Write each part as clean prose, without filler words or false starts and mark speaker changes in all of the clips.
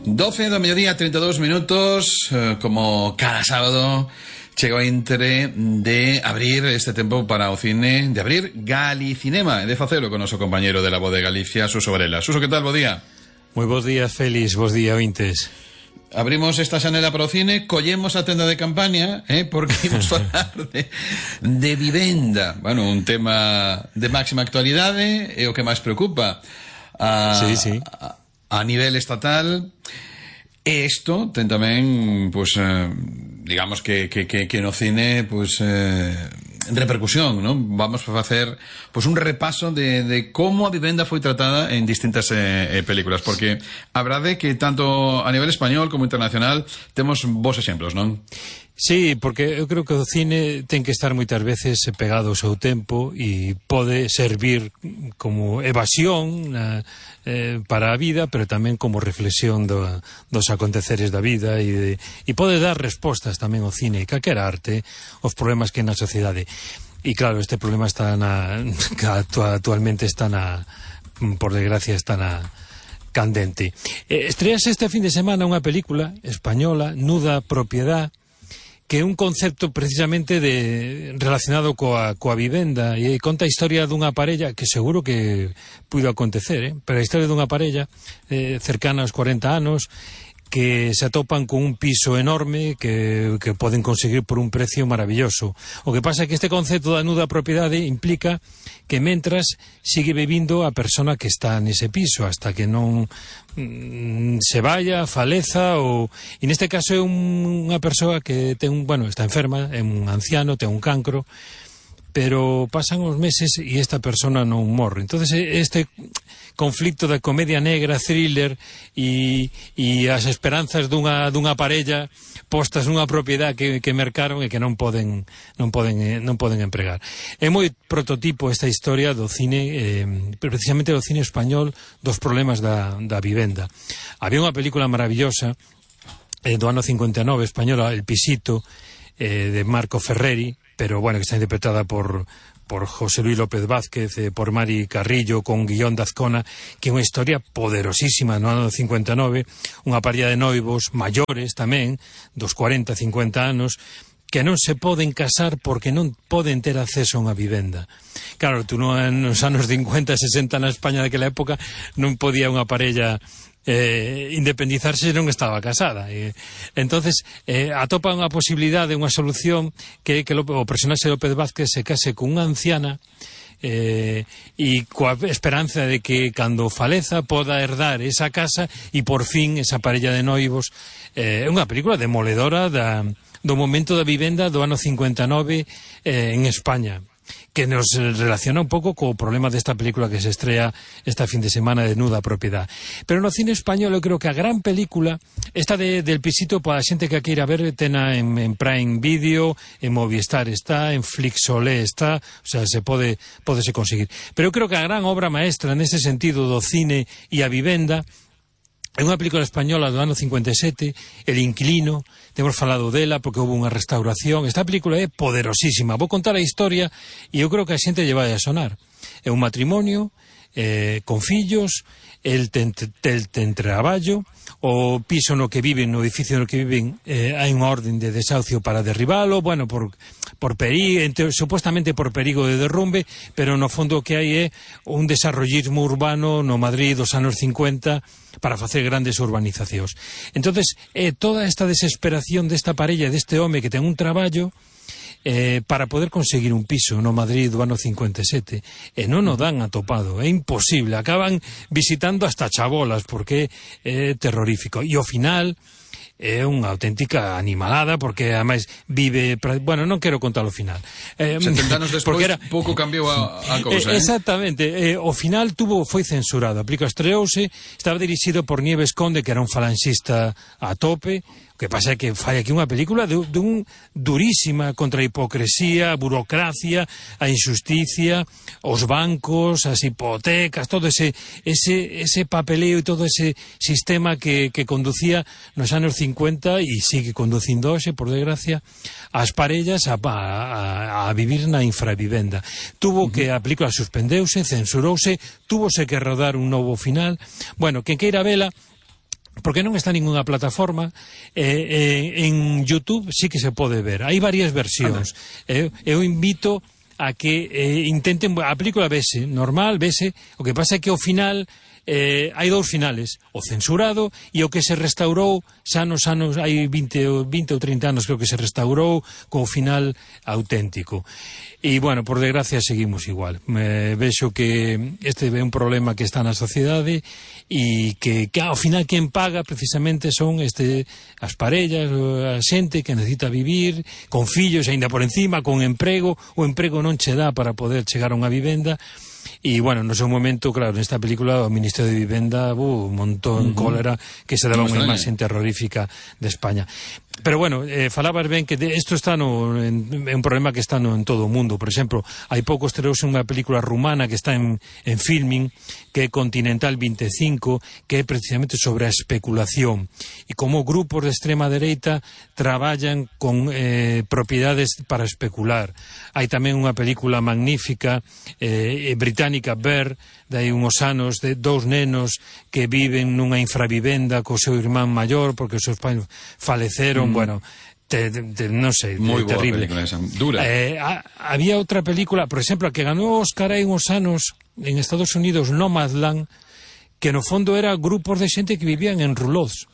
Speaker 1: 12 do mediodía, 32 minutos, como cada sábado chega o intre de abrir este tempo para o cine, de abrir Galicinema, e de facelo con o noso compañeiro de la Voz de Galicia, Suso Varela. Suso, que tal? Bo día.
Speaker 2: Moi bons días, Félix, bons días, ointes.
Speaker 1: Abrimos esta xanela para o cine, collemos a tenda de campaña, porque imos falar de vivenda. Bueno, un tema de máxima actualidade, é o que máis preocupa
Speaker 2: sí.
Speaker 1: A nivel estatal. E isto ten tamén, pues, digamos que no cine, pues, repercusión, non? Vamos a facer, pues, un repaso de como a vivenda foi tratada en distintas películas, porque a verdade é que tanto a nivel español como internacional temos bons exemplos, non?
Speaker 2: Sí, porque eu creo que o cine ten que estar moitas veces pegado ao seu tempo e pode servir como evasión para a vida, pero tamén como reflexión dos aconteceres da vida e pode dar respostas tamén ao cine e calquera arte aos problemas que na sociedade. E claro, este problema está actualmente está por desgracia está candente. Estrease este fin de semana unha película española, Nuda Propiedad, que é un concepto precisamente relacionado coa vivenda, e conta a historia dunha parella que seguro que puido acontecer, pero a historia dunha parella cercana aos 40 anos que se atopan con un piso enorme que poden conseguir por un precio maravilloso. O que pasa é que este concepto da nuda propiedade implica que mentras sigue vivindo a persona que está nese piso hasta que non se vaya, faleza e neste caso é unha persoa que está enferma, é un anciano, ten un cancro, pero pasan os meses e esta persona non morre. Entonces este conflicto da comedia negra, thriller e as esperanzas dunha parella postas nunha propiedade que mercaron e que non poden empregar. É moi prototipo esta historia do cine, precisamente do cine español, dos problemas da vivenda. Había unha película maravillosa do ano 59 española, El Pisito, de Marco Ferreri, pero bueno, que está interpretada por José Luis López Vázquez, por Mari Carrillo, con guión de Azcona, que é unha historia poderosísima no ano 59, unha parella de noivos maiores tamén, dos 40, 50 anos, que non se poden casar porque non poden ter acceso a unha vivenda. Claro, tú nos anos 50, 60 na España daquela época non podía unha parella independizarse se non estaba casada. Entonces atopa unha posibilidade, unha solución que o personaxe de López Vázquez se case con unha anciana e coa esperanza de que cando faleza poda herdar esa casa e por fin esa parella de noivos. É unha película demoledora do momento da vivenda do ano 59 en España, que nos relaciona un pouco co problema desta película que se estrea esta fin de semana de Nuda Propiedad. Pero no cine español eu creo que a gran película esta del Pisito, para a xente que a queira ver, tena en Prime Video, en Movistar está, en Flixolé está, o sea, pódese conseguir. Pero eu creo que a gran obra maestra nese sentido do cine e a vivenda é unha película española do ano 57, El Inquilino. Temos falado dela porque houve unha restauración. Esta película é poderosísima. Vou contar a historia e eu creo que a xente lle vai a sonar. É un matrimonio con fillos, el ten traballo, o piso no que viven, no edificio no que viven, hai unha orden de desahucio para derribalo, bueno, supuestamente por perigo de derrumbe, pero no fondo o que hai é un desarrollismo urbano no Madrid dos anos 50 para facer grandes urbanizacións. Entonces, toda esta desesperación desta parella, deste home que ten un traballo para poder conseguir un piso no Madrid do ano 57 e non o dan atopado, é imposible, acaban visitando hasta chabolas porque é terrorífico e ao final é unha auténtica animalada porque ademais vive, bueno, non quero contar o final.
Speaker 1: 70 anos despois pouco cambiou a cousa.
Speaker 2: Exactamente, o final foi censurado, a película estreouse, estaba dirixido por Nieves Conde, que era un falanxista a tope. O que pasa é que fai aquí unha película durísima contra a hipocresía, a burocracia, a injusticia, os bancos, as hipotecas, todo ese papeleo e todo ese sistema que conducía nos anos 50 e sigue conducindo hoxe, por desgracia, as parellas a vivir na infravivenda. A película suspendeuse, censurouse, túvose que rodar un novo final. Bueno, quen queira vela, porque non está en ninguna plataforma. En YouTube sí que se pode ver, hai varias versións. Eu invito a que intenten, a película vese normal, vese, o que pasa é que ao final hai dous finales, o censurado e o que se restaurou xa nos anos, hai 20 ou 30 anos creo que se restaurou co final auténtico. E, bueno, por desgracia seguimos igual. Vexo que este é un problema que está na sociedade e que ao final quen paga precisamente son as parellas, a xente que necesita vivir con fillos, aínda por encima, con emprego, o emprego non che dá para poder chegar a unha vivenda. E, bueno, no seu momento, claro, nesta película o Ministro de Vivenda montou en cólera que se daba unha imaxe terrorífica de España. Pero, bueno, falabas ben que isto está é un problema que está en todo o mundo. Por exemplo, hai pouco estreouse unha película rumana que está en filming, que é Continental 25, que é precisamente sobre a especulación e como grupos de extrema dereita traballan con propiedades para especular. Hai tamén unha película magnífica británica, Bear, de hai uns anos, de dous nenos que viven nunha infravivenda co seu irmán maior porque os seus pais faleceron. Bueno, non sei, terrible.
Speaker 1: Esa, dura.
Speaker 2: Había outra película, por exemplo, a que ganou Oscar hai uns anos en Estados Unidos, Nomadland, que no fondo era grupos de xente que vivían en roulots.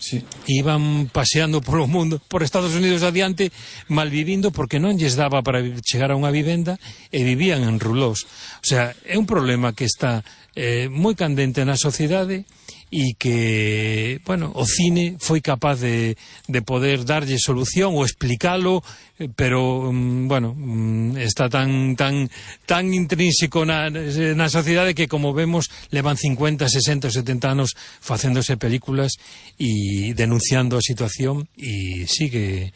Speaker 1: Sí.
Speaker 2: Iban paseando polo mundo, por Estados Unidos adiante, malvivindo porque non lles daba para chegar a unha vivenda e vivían en roulots. O sea, é un problema que está moi candente na sociedade e que, bueno, o cine foi capaz de poder darlle solución ou explicalo, pero, bueno, está tan intrínseco na sociedade que, como vemos, levan 50, 60, 70 anos facéndose películas e denunciando a situación e sigue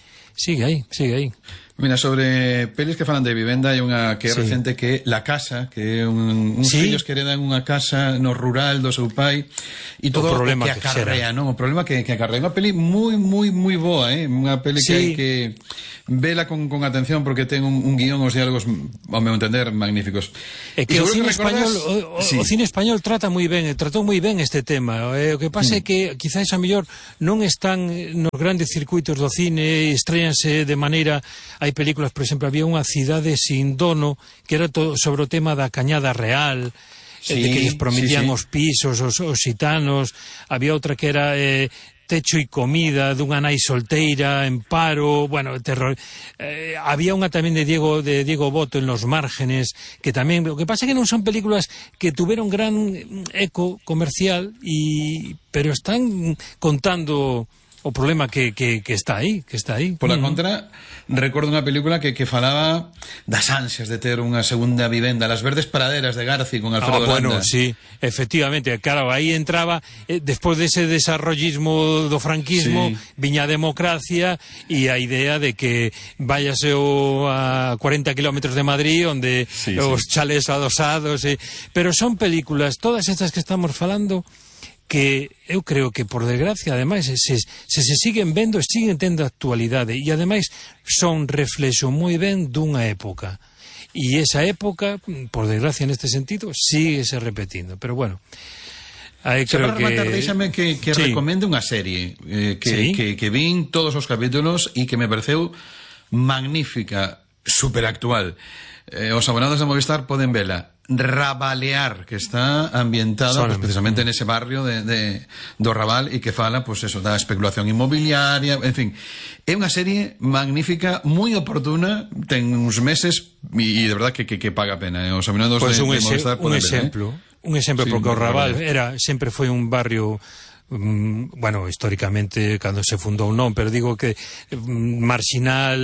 Speaker 2: aí.
Speaker 1: Mira, sobre pelis que falan de vivenda hai unha que é recente que é La Casa, que é uns fillos que heredan unha casa no rural do seu pai e todo o que acarrea, non? O problema que acarrea. Unha peli moi boa, unha peli que hai que vela con atención porque ten un guión, os diálogos, ao meu entender, magníficos.
Speaker 2: É que o cine español, o cine español tratou moi ben este tema. O que pasa é que quizás a mellor non están nos grandes circuitos do cine, estréanse de maneira. Hai películas, por exemplo, había unha Cidade sin dono que era todo sobre o tema da Cañada Real, de que lles prometían os pisos, os xitanos. Había outra que era Techo e comida, dunha nai solteira en paro, bueno, terror. Había unha tamén de Diego Boto en Los Márgenes, que tamén, o que pasa é que non son películas que tuveron gran eco comercial, pero están contando o problema que está aí.
Speaker 1: Por la contra, recordo unha película que falaba das ansias de ter unha segunda vivenda, Las verdes praderas de Garci con Alfredo Landa.
Speaker 2: Bueno, sí, efectivamente, claro, aí entraba, despois dese desarrollismo do franquismo, viña a democracia e a idea de que váyase a 40 kilómetros de Madrid, onde os chalés adosados, pero son películas, todas estas que estamos falando, que eu creo que, por desgracia, ademais, se siguen vendo, siguen tendo actualidade e, ademais, son reflexo moi ben dunha época. E esa época, por desgracia, neste sentido, sigue se repetindo. Pero, bueno, aí creo que...
Speaker 1: Deixame que recomende unha serie que vin todos os capítulos e que me pareceu magnífica, superactual. Os abonados de Movistar poden vela. Rabalear, que está ambientada pues, precisamente nese barrio do Raval e que fala, pues eso, da especulación inmobiliaria, en fin. É unha serie magnífica, moi oportuna, ten uns meses e de verdad que paga a pena. Os abonados de Movistar poden vela.
Speaker 2: Un exemplo, porque o Raval sempre foi un barrio... bueno, históricamente cando se fundou non, pero digo que marxinal,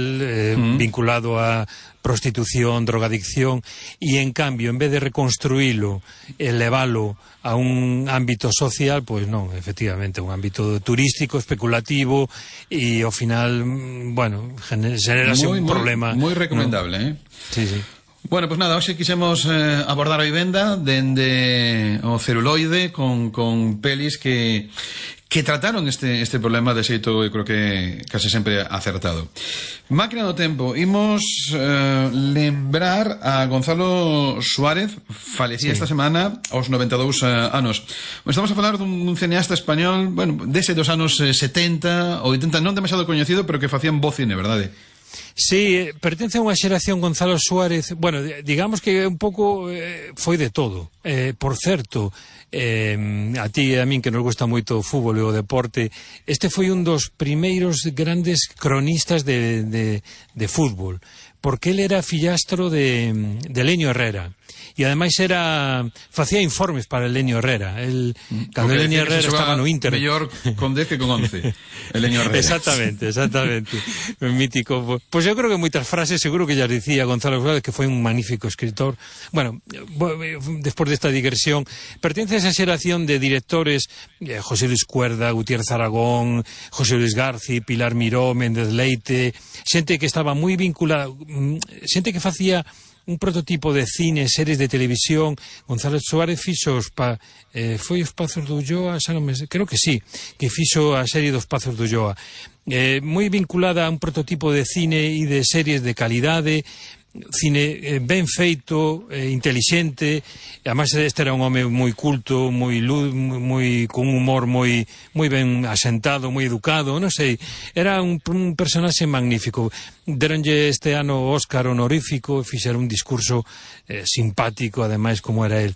Speaker 2: vinculado a prostitución, drogadicción, e en cambio, en vez de reconstruílo e leválo a un ámbito social, pois non, efectivamente, un ámbito turístico, especulativo, e ao final, bueno, generase un problema.
Speaker 1: Moi recomendable,
Speaker 2: Sí.
Speaker 1: Bueno, pues nada, hoxe quixemos abordar a vivenda dende o celuloide con pelis que trataron este problema de xeito, eu creo que case sempre acertado. Máquina do tempo, imos lembrar a Gonzalo Suárez, falecía esta semana aos 92 anos. Estamos a falar dun cineasta español, bueno, dese dos anos 70, 80, non demasiado coñecido, pero que facían bo cine, verdade?
Speaker 2: Sí, pertence a unha xeración Gonzalo Suárez, bueno, digamos que un pouco foi de todo. Por certo, a ti e a min que nos gusta moito o fútbol e o deporte, este foi un dos primeiros grandes cronistas de fútbol, porque ele era fillastro de Lenio Herrera. E ademais facía informes para Elenio Herrera. Cando Elenio Herrera estaba no Inter,
Speaker 1: mellor con 10 que con 11. Elenio Herrera.
Speaker 2: Exactamente. Mítico. Pois eu creo que moitas frases seguro que ya dicía Gonzalo Suárez, que foi un magnífico escritor. Bueno, despois desta digresión, pertence a esa xeración de directores, José Luis Cuerda, Gutiérrez Aragón, José Luis Garci, Pilar Miró, Méndez Leite, xente que estaba moi vinculada, xente que facía un prototipo de cine, series de televisión. Gonzalo Suárez fixo foi Os Pazos do Ulloa, creo que sí, que fixo a serie dos Pazos do Ulloa, moi vinculada a un prototipo de cine e de series de calidade, cine ben feito, intelixente. Además este era un home moi culto, con un humor moi ben asentado, moi educado, non sei, era un personaxe magnífico. Deronlle este ano o Óscar honorífico, fixeron un discurso simpático, ademais, como era el.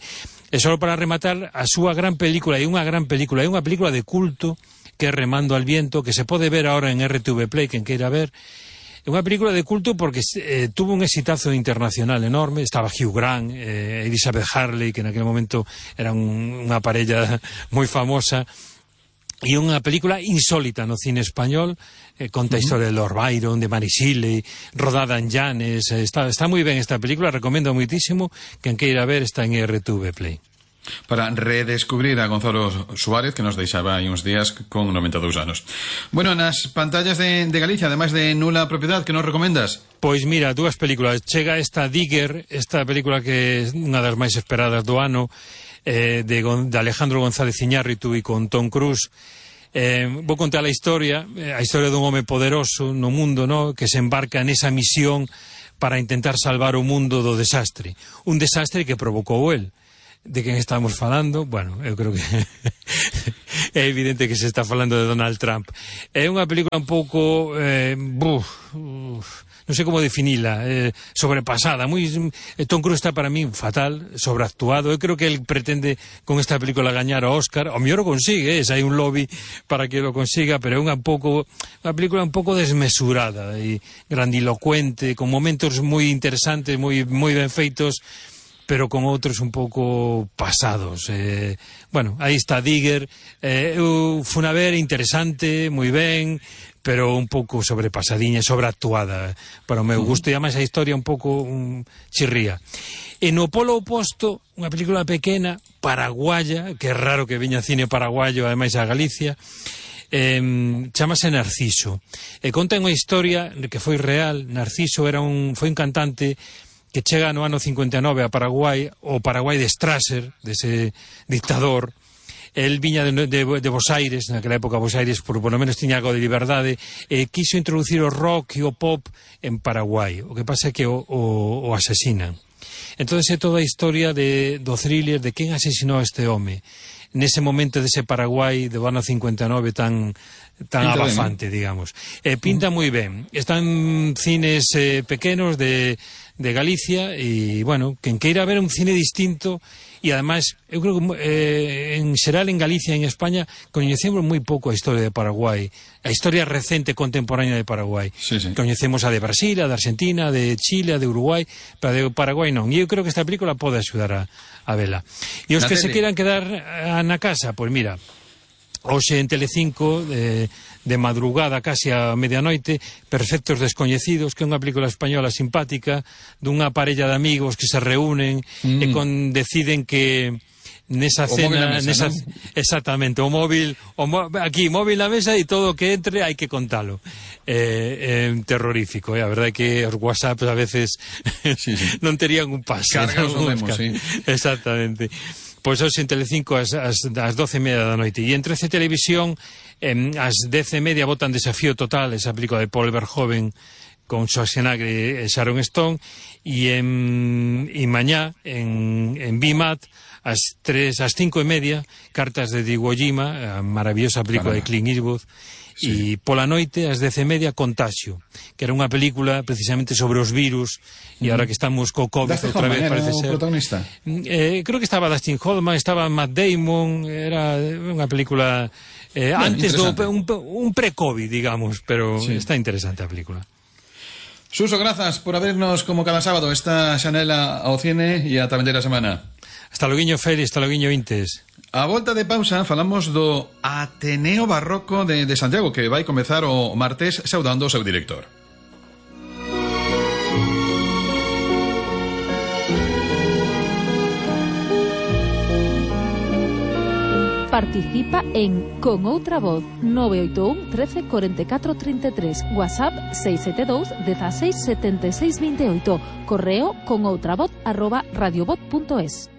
Speaker 2: E só para rematar, a súa gran película, é unha película de culto, que é Remando al viento, que se pode ver ahora en RTV Play, quen queira ver. É unha película de culto porque tuvo un exitazo internacional enorme. Estaba Hugh Grant, Elizabeth Harley, que en aquel momento eran unha parella moi famosa. E unha película insólita no cine español, conta a historia de Lord Byron, de Mary Shelley, rodada en Llanes. Está moi ben esta película, recomendo moitísimo. Quen queira ver está en RTV Play.
Speaker 1: Para redescubrir a Gonzalo Suárez, que nos deixaba aí uns días con 92 anos. Bueno, nas pantallas de Galicia, ademais de Nula Propiedad, que nos recomendas?
Speaker 2: Pois mira, dúas películas. Chega esta Digger, esta película que é unha das máis esperadas do ano, de Alejandro González Iñárritu e con Tom Cruise. Vou contar a historia dun home poderoso no mundo, no, que se embarca nesa misión para intentar salvar o mundo do desastre. Un desastre que provocou el. De quen estamos falando? Bueno, eu creo que é evidente que se está falando de Donald Trump. É unha película un pouco non sei como definila, sobrepasada. Tom Cruise está para mí fatal, sobreactuado. Eu creo que el pretende con esta película gañar o Óscar. O mellor o consigue, hai un lobby para que lo consiga, pero é unha película un pouco desmesurada e grandilocuente, con momentos moi interesantes, moi ben feitos, pero con outros un pouco pasados. Bueno, aí está Digger. Fun a ver, interesante, moi ben, pero un pouco sobrepasadiña, sobreactuada para o meu gusto, e ademais a historia un pouco chirría. E no polo oposto, unha película pequena, paraguaya, que é raro que viña cine paraguayo, ademais a Galicia, chamase Narciso. E conta unha historia que foi real. Narciso foi un cantante que chega no ano 59 a Paraguai, o Paraguai de Strasser, dese dictador. El viña de Bos Aires, naquela época Bos Aires por lo menos tiña algo de liberdade, e quiso introducir o rock e o pop en Paraguai. O que pasa é que o asesinan. Entón é toda a historia do thriller de quen asesinou a este home nese momento dese Paraguai do ano 59 tan abafante, digamos. Pinta moi ben. Están cines pequenos de Galicia, e, bueno, quen queira ver un cine distinto. E, ademais, eu creo que en xeral en Galicia e en España coñecemos moi pouco a historia de Paraguai, a historia recente contemporánea de Paraguai.
Speaker 1: Sí.
Speaker 2: Coñecemos a de Brasil, a de Argentina, a de Chile, a de Uruguai, pero a de Paraguai non. E eu creo que esta película pode axudar a vela. E os que se queiran quedar na casa, pois mira, hoxe en Telecinco, de madrugada casi a medianoite, Perfectos descoñecidos, que é unha película española simpática dunha parella de amigos que se reúnen e deciden que nesa cena,
Speaker 1: mesa, ¿no?
Speaker 2: Exactamente, o móvil na mesa e todo o que entre hai que contalo. Terrorífico, a verdade é que os WhatsApp a veces
Speaker 1: sí.
Speaker 2: non terían un paso.
Speaker 1: Cargas o vemos, sí.
Speaker 2: Exactamente. Pois hoxe en Telecinco ás 12:30 da noite. E en 13 Televisión ás 10:30 botan Desafío Total, esa película de Paul Verhoeven con Schwarzenegger e Sharon Stone, e mañá en BIMAT ás 5:30 Cartas de Iwo Jima, a maravillosa película de Clint Eastwood, e pola noite ás 10:30 Contagio, que era unha película precisamente sobre os virus, e agora que estamos co COVID outra vez parece ser
Speaker 1: protagonista.
Speaker 2: Creo que estaba Dustin Hoffman, estaba Matt Damon, era unha película antes un pre-COVID, digamos, pero está interesante a película.
Speaker 1: Suso, grazas por abrirnos como cada sábado esta xanela ao cine e a tamén da semana.
Speaker 2: Hasta loguiño, Félix, hasta loguiño, Intes.
Speaker 1: A volta de pausa falamos do Ateneo Barroco de Santiago, que vai comezar o martes saudando o seu director.
Speaker 3: Participa en Con Outra Voz 981 13 44 33, WhatsApp 672 16 76 28, correo conoutravoz@radiovoz.es.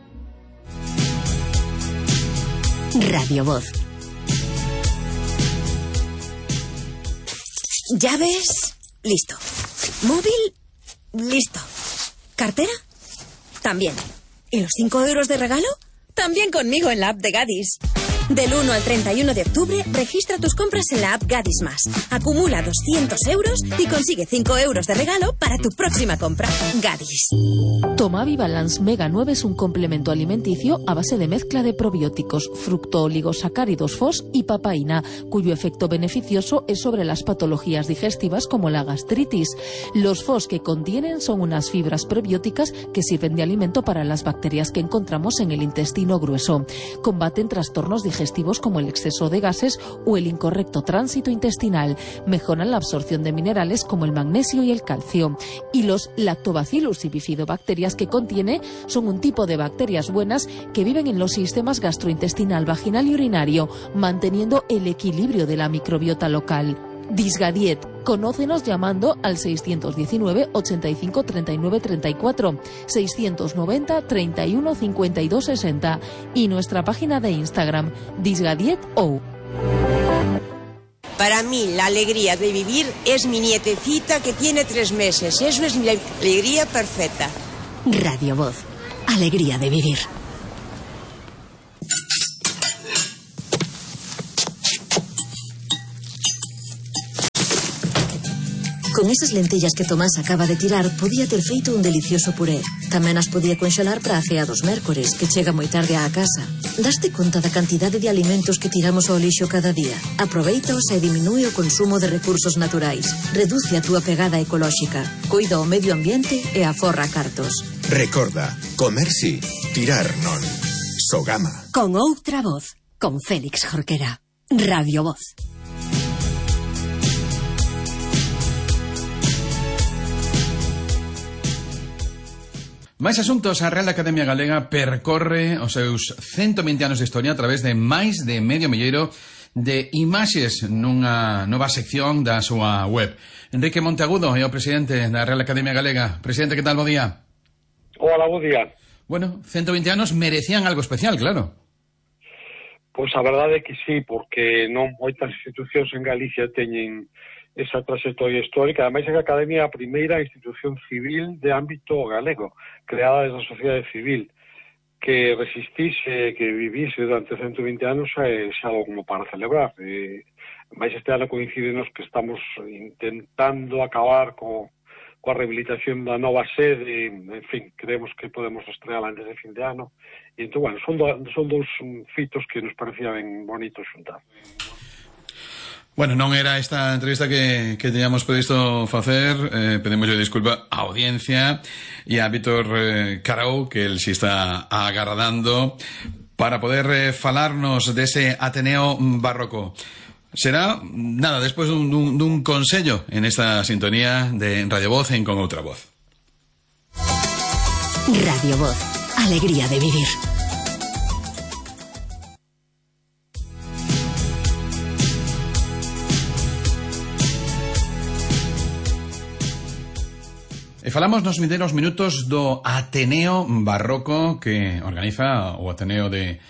Speaker 4: Radio Voz. ¿Llaves? Listo. ¿Móvil? Listo. ¿Cartera? También. ¿Y los 5 euros de regalo? También conmigo en la app de Gadis. Del 1 al 31 de octubre, registra tus compras en la app Gadis Más. Acumula 200 euros y consigue 5 euros de regalo para tu próxima compra. Gadis.
Speaker 3: Tomavibalance Mega 9 es un complemento alimenticio a base de mezcla de probióticos, fructooligosacáridos FOS y papaína, cuyo efecto beneficioso es sobre las patologías digestivas como la gastritis. Los FOS que contienen son unas fibras prebióticas que sirven de alimento para las bacterias que encontramos en el intestino grueso. Combaten trastornos digestivos como el exceso de gases o el incorrecto tránsito intestinal. Mejoran la absorción de minerales como el magnesio y el calcio. Y los lactobacillus y bifidobacterias que contiene son un tipo de bacterias buenas que viven en los sistemas gastrointestinal, vaginal y urinario, manteniendo el equilibrio de la microbiota local. Disgadiet. Conócenos llamando al 619 85 39 34, 690 31 52 60 y nuestra página de Instagram, Disgadiet.ou.
Speaker 5: Para mí la alegría de vivir es mi nietecita que tiene 3 meses. Eso es mi alegría perfecta.
Speaker 4: Radio Voz. Alegría de vivir. Con esas lentellas que Tomás acaba de tirar, podía ter feito un delicioso puré. Tamén as podía conxelar para a cea dos mércores, que chega moi tarde á casa. Daste conta da cantidade de alimentos que tiramos ao lixo cada día? Aproveitaos e diminúe o consumo de recursos naturais. Reduce a túa pegada ecolóxica. Coida o medio ambiente e aforra cartos.
Speaker 6: Recorda, comer sí, tirar non. Sogama.
Speaker 4: Con Outra Voz, con Félix Jorquera. Radio Voz.
Speaker 1: Máis asuntos. A Real Academia Galega percorre os seus 120 anos de historia a través de máis de medio milleiro de imaxes nunha nova sección da súa web. Enrique Monteagudo é o presidente da Real Academia Galega. Presidente, que tal? Bo día.
Speaker 7: Hola, bo día.
Speaker 1: Bueno, 120 anos merecían algo especial, claro.
Speaker 7: Pois a verdade é que sí, porque non moitas institucións en Galicia teñen esa trayectoria histórica. Ademais, a Academia é a primeira institución civil de ámbito galego, creada desde a sociedade civil, que resistise, que vivise durante 120 anos é algo como para celebrar. Mais este ano coincidenos que estamos intentando acabar coa rehabilitación da nova sede, en fin, creemos que podemos estreala antes de fin de ano, e entón, bueno, son dous fitos que nos parecía ben bonitos xuntar.
Speaker 1: Bueno, non era esta entrevista que teníamos previsto facer. Pedimos disculpa á audiencia e a Víctor Carao, que el si está agardando para poder falarnos dese Ateneo Barroco. Será, nada, despois dun consello en esta sintonía de Radio Voz en Con Outra Voz.
Speaker 4: Radio Voz. Alegría de vivir.
Speaker 1: falamos nos vindeiros minutos do Ateneo Barroco que organiza o Ateneo de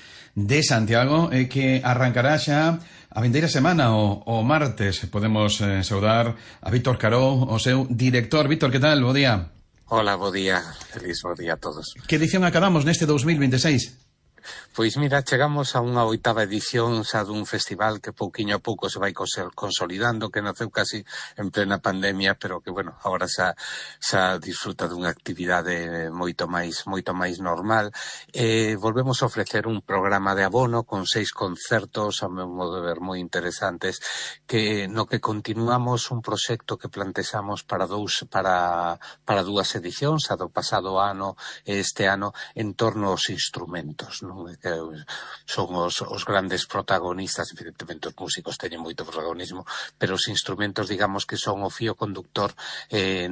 Speaker 1: Santiago e que arrancará xa a vindeira semana, o martes. Podemos saudar a Víctor Caró, o seu director. Víctor, que tal? Bo día.
Speaker 8: Hola, bo día. Feliz bo día a todos.
Speaker 1: Que edición acabamos neste 2026?
Speaker 8: Pois mira, chegamos a unha 8ª edición xa dun festival que pouquiño a pouco se vai consolidando, que naceu casi en plena pandemia, pero que, bueno, agora xa disfruta dunha actividade moito máis normal. Volvemos a ofrecer un programa de abono con 6 concertos, a meu modo de ver, moi interesantes, no que continuamos un proxecto que plantexamos para dúas edicións, a do pasado ano e este ano, en torno aos instrumentos, non? Que son os grandes protagonistas. Evidentemente os músicos teñen moito protagonismo, pero os instrumentos, digamos, que son o fío conductor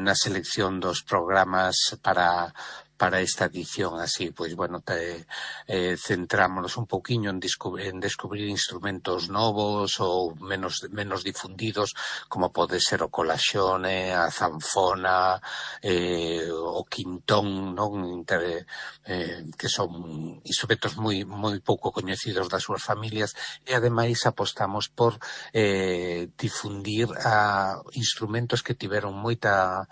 Speaker 8: na selección dos programas para esta edición. Así, pois, bueno, centrámonos un pouquiño en descubrir instrumentos novos ou menos difundidos, como pode ser o colaxone, a zanfona, o quintón, non? Que son instrumentos moi pouco coñecidos das súas familias, e ademais apostamos por difundir instrumentos que tiveron moita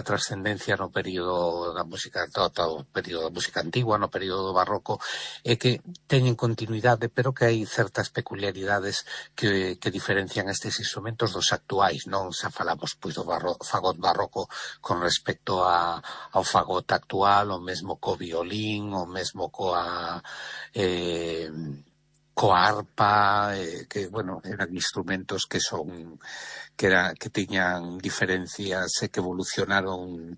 Speaker 8: trascendencia no período da música, todo o período da música antigua, no período barroco, e que teñen continuidade, pero que hai certas peculiaridades que diferencian estes instrumentos dos actuais, non? Xa falamos pois do fagot barroco con respecto ao fagot actual, o mesmo co violín, o mesmo coa arpa, que, bueno, eran instrumentos que tiñan diferencias e que evolucionaron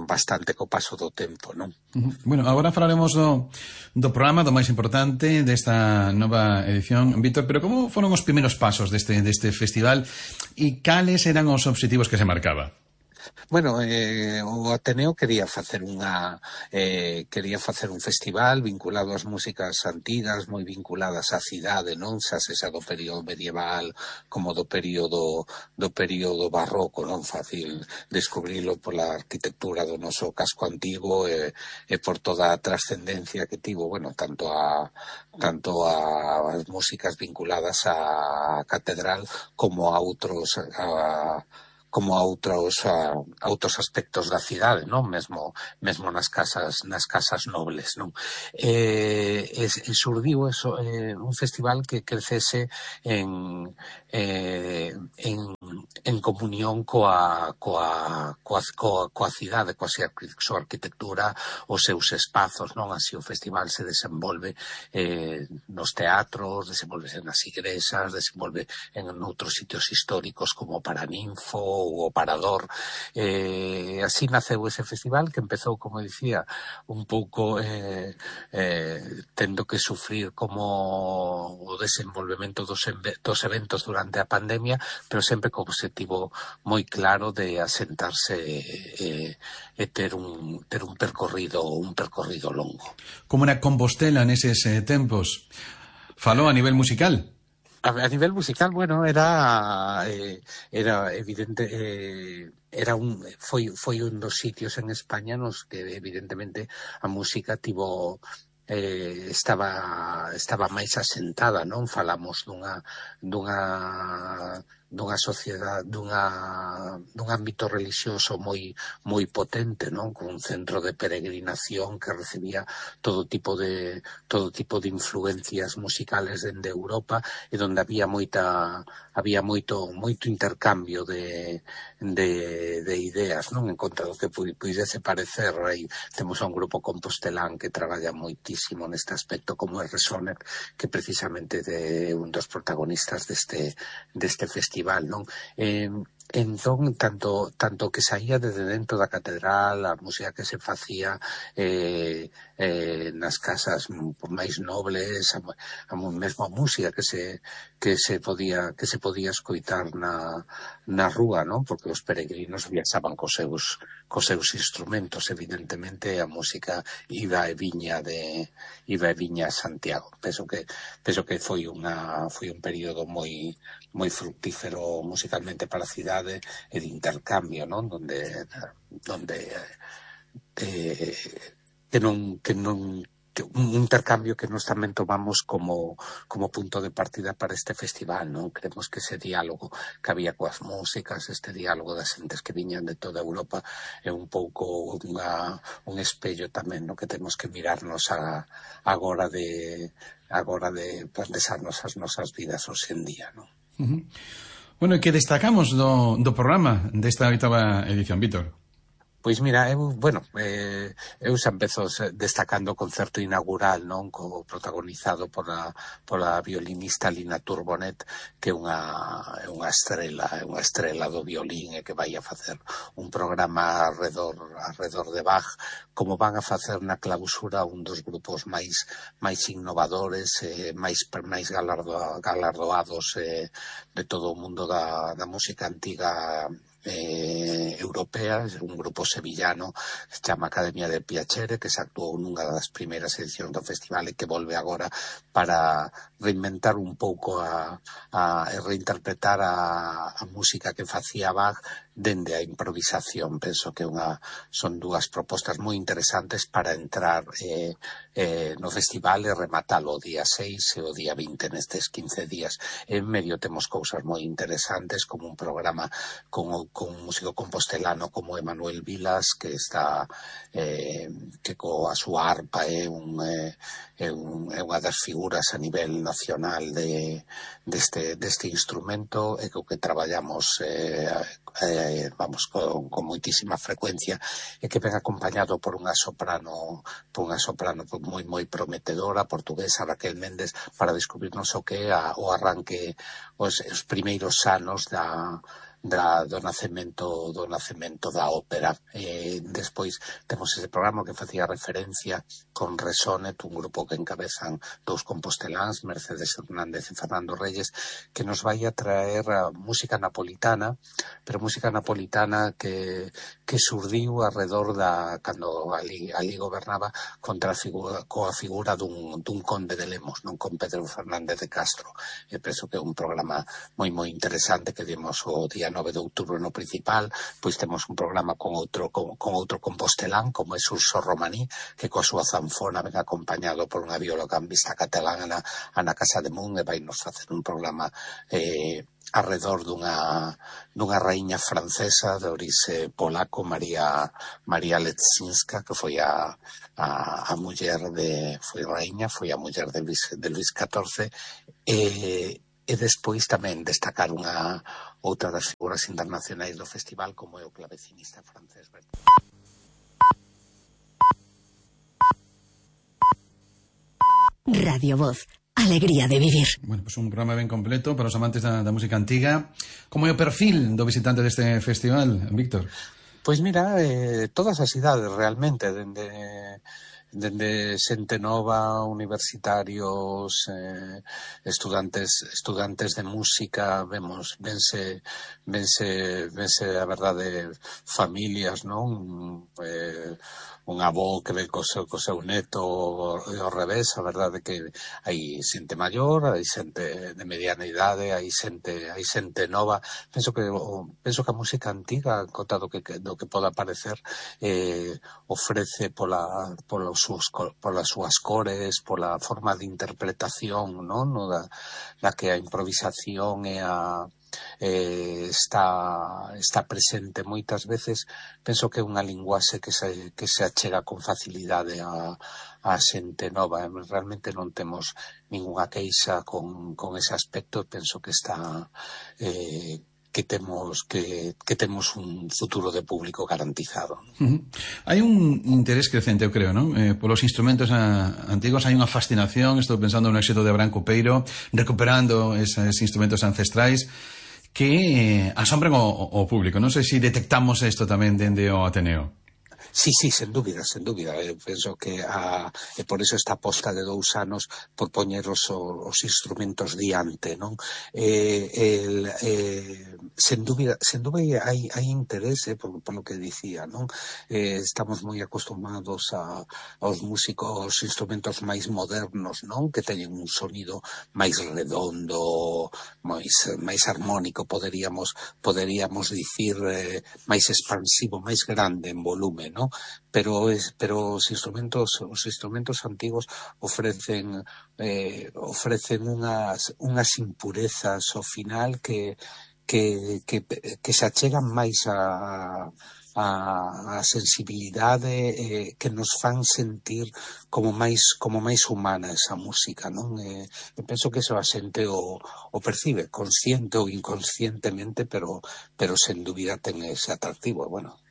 Speaker 8: bastante co paso do tempo, non?
Speaker 1: Bueno, agora falaremos do programa, do máis importante desta nova edición, Víctor, pero como foron os primeiros pasos deste festival e cales eran os obxectivos que se marcaba?
Speaker 8: Bueno, o Ateneo quería facer un festival vinculado ás músicas antigas, moi vinculadas á cidade, non? Xa sexa do período medieval como do período barroco, non? Fácil descubrilo pola arquitectura do noso casco antigo e por toda a trascendencia que tivo, bueno, tanto a as músicas vinculadas á catedral como a outros aspectos da cidade, non? Mesmo nas casas nobles, non? Surdiu eso, un festival que crecese en comunión coa cidade, coa súa arquitectura, os seus espazos, non? Así o festival se desenvolve nos teatros, desenvolve nas igrexas, desenvolve en outros sitios históricos como Paraninfo ou o Parador. Así naceu ese festival que empezou, como dicía, un pouco tendo que sufrir como o desenvolvemento dos eventos durante a pandemia, pero sempre co objetivo moi claro de asentarse e ter un percorrido longo.
Speaker 1: Como era Compostela neses tempos? Falou a nivel musical?
Speaker 8: A nivel musical, bueno, era evidente, foi un dos sitios en España nos que evidentemente a música estaba máis asentada, non? Falamos dunha sociedade, dun ámbito religioso moi potente, non? Con un centro de peregrinación que recibía todo tipo de influencias musicales dende Europa, e onde había moito intercambio de ideas, non? En contra do que puidese parecer, aí temos a un grupo compostelán que traballa moitísimo neste aspecto, como é Resoner, que precisamente é un dos protagonistas deste festival, non? Entón, tanto que saía desde dentro da catedral, a música que se facía nas casas máis nobles, a mesma música que se podía escoitar na rúa, non? Porque os peregrinos viaxaban cos seus instrumentos, evidentemente a música iba e viña a Santiago. Penso que foi un período moi fructífero musicalmente para a cidade e de intercambio, non? Donde un intercambio que nós tamén tomamos como punto de partida para este festival, non? Creemos que ese diálogo que había coas músicas, este diálogo das xentes que viñan de toda Europa é un pouco un espello tamén, no? Que temos que mirarnos agora de pensarnos as nosas vidas hoxe en día, non?
Speaker 1: Bueno, e que destacamos do programa desta 8ª edición, Víctor?
Speaker 8: Pois mira, eu xa empezo destacando o concerto inaugural, non, protagonizado pola violinista Lina Turbonet, que é unha estrela do violín e que vai a facer un programa arredor de Bach, como van a facer na clausura un dos grupos máis innovadores, máis galardoados de todo o mundo da música antiga europea, un grupo sevillano que se chama Academia de Piacere, que se actuou nunha das primeiras edicións do festival e que volve agora para reinventar un pouco reinterpretar a música que facía Bach dende a improvisación. Penso que son dúas propostas moi interesantes para entrar no festival e rematalo o día 6 e o día 20 nestes 15 días. En medio temos cousas moi interesantes, como un programa con un músico compostelano como Emanuel Vilas, que está que coa súa arpa é unha das figuras a nivel nacional deste instrumento, e co que traballamos con moitísima frecuencia, e que ven acompañado por unha soprano moi prometedora, portuguesa, Raquel Méndez, para descubrirnos o que é o arranque, os primeiros anos do nacemento da ópera. Despois temos ese programa que facía referencia con Resonet, un grupo que encabezan dous composteláns, Mercedes Hernández e Fernando Reyes, que nos vai a traer a música napolitana, pero música napolitana que surdiu alrededor cando ali gobernaba coa figura dun conde de Lemos, non, con Pedro Fernández de Castro. E penso que é un programa moi interesante que dimos o día 9 de outubro no principal. Pois temos un programa con outro compostelán, como é Surso Romaní, que coa súa zanfona ven acompañado por unha viola gambista catalana, Ana Casademun, e vai nos facer un programa arredor dunha raíña francesa de orixe polaco, María Leczinska, que foi a muller foi a muller de Luís XIV, e despois tamén destacar outra das figuras internacionais do festival, como é o clavecinista francés Bertolt.
Speaker 4: Radio Voz, alegría de vivir.
Speaker 1: Bueno, pues un programa ben completo para os amantes da música antiga. Como é o perfil do visitante deste festival, Víctor?
Speaker 8: Pois mira, todas as idades realmente, dende xente nova, universitarios, estudantes de música, vense a verdade, familias, non? Un avó que ve co seu neto e ao revés. A verdade que hai xente maior, hai xente de mediana idade, hai xente nova. Penso que a música antiga, cota do que poda parecer, ofrece polas súas cores, pola forma de interpretación, non? Da que a improvisación está presente moitas veces. Penso que é unha linguaxe que se achega con facilidade a xente nova. Realmente non temos ningunha queixa con ese aspecto. Penso que está que temos un futuro de público garantizado.
Speaker 1: Hai un interés crecente, eu creo, non? Polos instrumentos antigos hai unha fascinación. Estou pensando no éxito de Abraham Coupeiro, recuperando esos instrumentos ancestrais que asombran o público. Non sei se detectamos isto tamén dende o Ateneo.
Speaker 8: Sí, sen dúbida. Eu penso que por eso esta aposta de 2 anos por poñer os instrumentos diante, non? Sen dúbida hai interese por lo que dicía, non? Estamos moi acostumados aos músicos, aos instrumentos máis modernos, non? Que teñen un sonido máis redondo, máis armónico, poderíamos dicir, máis expansivo, máis grande en volume, non? Pero os instrumentos antigos ofrecen unhas impurezas ao final que se achegan máis a sensibilidade, que nos fan sentir como máis humana esa música, non? Eu penso que eso a xente o percibe, consciente ou inconscientemente, pero sen dúbida ten ese atractivo. Bueno,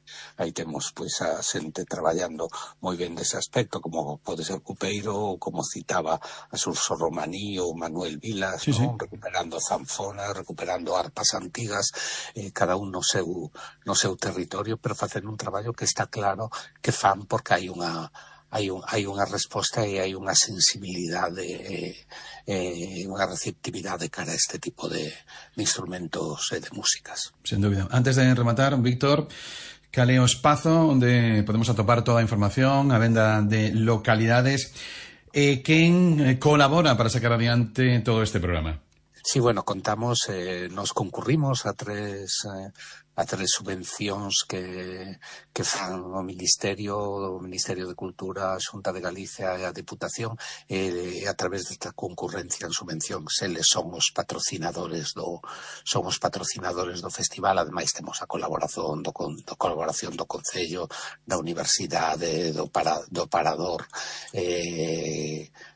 Speaker 8: aí temos pois a xente traballando moi ben dese aspecto, como pode ser Cupeiro, ou como citaba a Surso Romaní ou Manuel Vilas,
Speaker 1: sí,
Speaker 8: non? Recuperando zanfonas, recuperando arpas antigas, cada un no seu territorio, pero facendo un traballo que está claro que fan porque hai unha resposta e hai unha sensibilidade, unha receptividade cara a este tipo de instrumentos e de músicas.
Speaker 1: Sen dúbida. Antes de rematar, Víctor, cal é o espazo onde podemos atopar toda a información, a venda de localidades e quen colabora para sacar adiante todo este programa?
Speaker 8: Sí, bueno, contamos, nos concurrimos a tres subvencións que fan o Ministerio de Cultura, a Xunta de Galicia e a Diputación, e a través desta concurrencia en subvencións eles son os patrocinadores do festival. Ademais temos a colaboración do Concello, da Universidade, do Parador,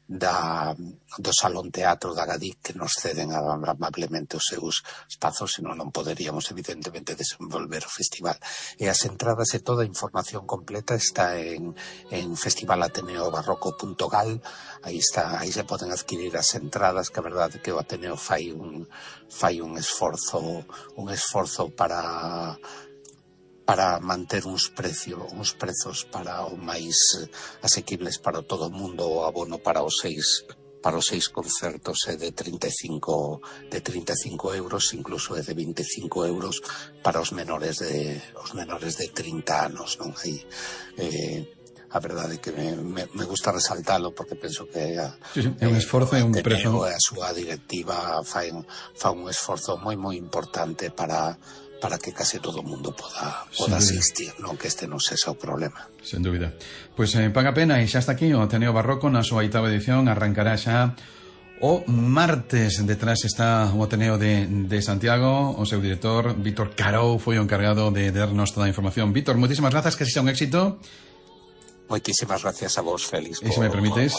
Speaker 8: do Salón Teatro da Gadic, que nos ceden amablemente os seus espazos, senón non poderíamos evidentemente desenvolver o festival. E as entradas e toda a información completa está en festivalateneobarroco.gal. aí se poden adquirir as entradas, que a verdade que o Ateneo fai un esforzo para manter uns prezos para o máis asequibles para todo o mundo. O abono para os 6 concertos é de 35 euros, incluso é de 25 euros para os menores de 30 anos, non? Aí a verdade que me gusta resaltalo, porque penso que
Speaker 1: é un esforzo e un prezo.
Speaker 8: A súa directiva fan un esforzo moi importante para que case todo o mundo poda asistir, non? Que este non sexa o problema.
Speaker 1: Sen dúbida. Pois paga pena, e xa está aquí o Ateneo Barroco na súa 8ª edición. Arrancará xa o martes. Detrás está o Ateneo de Santiago. O seu director, Víctor Carou, foi o encargado de darnos toda a información. Víctor, moitísimas grazas, que sexa un éxito.
Speaker 8: Moitísimas gracias a vos, Félix.
Speaker 1: E se me permites,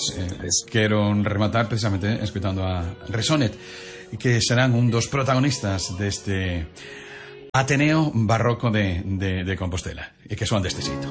Speaker 1: quero rematar precisamente escutando a Resonet, que serán un dos protagonistas deste Ateneo Barroco de Compostela, e que son deste xeito.